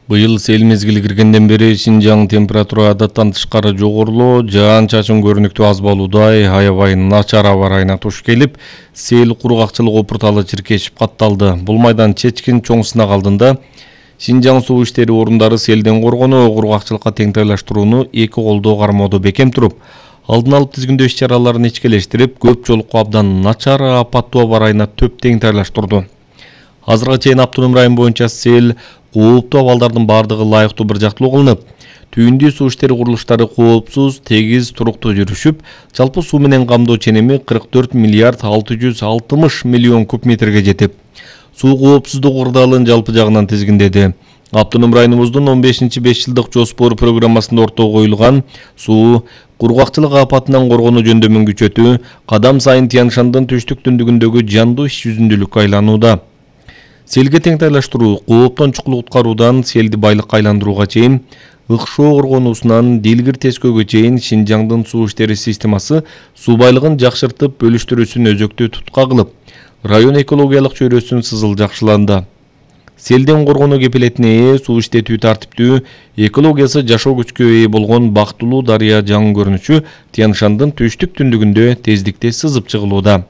Быйыл сел мезгили киргенден бери Шинжаң температура адаттан тышкары жогорулоо, жаан-чачын көрүнүктүү аз болуудай, аябай начар аба ырайына туш келип, сел кургакчылык опурталы чиркешип катталды. Бул майдан чечкин чоң сынак алдында Шинжаң суу иштери орундары селден коргонуу, кургакчылыкка теңдейлештирүүнү эки колдоо кармоодо бекем туруп, алдын алып тизгиндөө иш-чараларын ичкелештирип, көп жолуктуу абдан начар апаттуу аба ырайына төп теңдейлештирди. Азыркыга чейин автоном район боюнча сел кооптуу абалдардын бардыгы лайыктуу бир жактылуу кылынып, түйүндүү суу иштери курулуштары коопсуз, тегиз, туруктуу жүрүшүп, жалпы суу менен камдоо ченеми 44 миллиард 660 миллион куб метрге жетип, суу коопсуздук ырдалын жалпы жагынан тизгиндеди. Автоном районубуздун 15-5 жылдык жоспор программасында ортого коюлган суу кургакчылык апатынан коргонуу жөндөмүн күчөтүү кадам сайын Тянь-Шандын түштүк түндүгүндөгү жандуу иш жүзүндүүлүккө айланууда. Селге теңдейлештирүү, кооптон чукул куткаруудан селди байлыкка айландырууга чейин, ыкшоо коргонуусунан дилгир тескөөгө чейин Шинжаңдын суу иштери системасы суу байлыгын жакшыртып бөлүштүрүүсүн өзөктүү тутка кылып, район экологиялык чөйрөсүн сызыл жакшыланды. Селден коргонуу кепилетине ээ, суу иштетүү тартиптүү, экологиясы жашоо күчкө ээ болгон Бактылуу дарыя жаңы көрүнүшү Тянь-Шандын түштүк түндүгүндө тездикте сызып чыгылууда.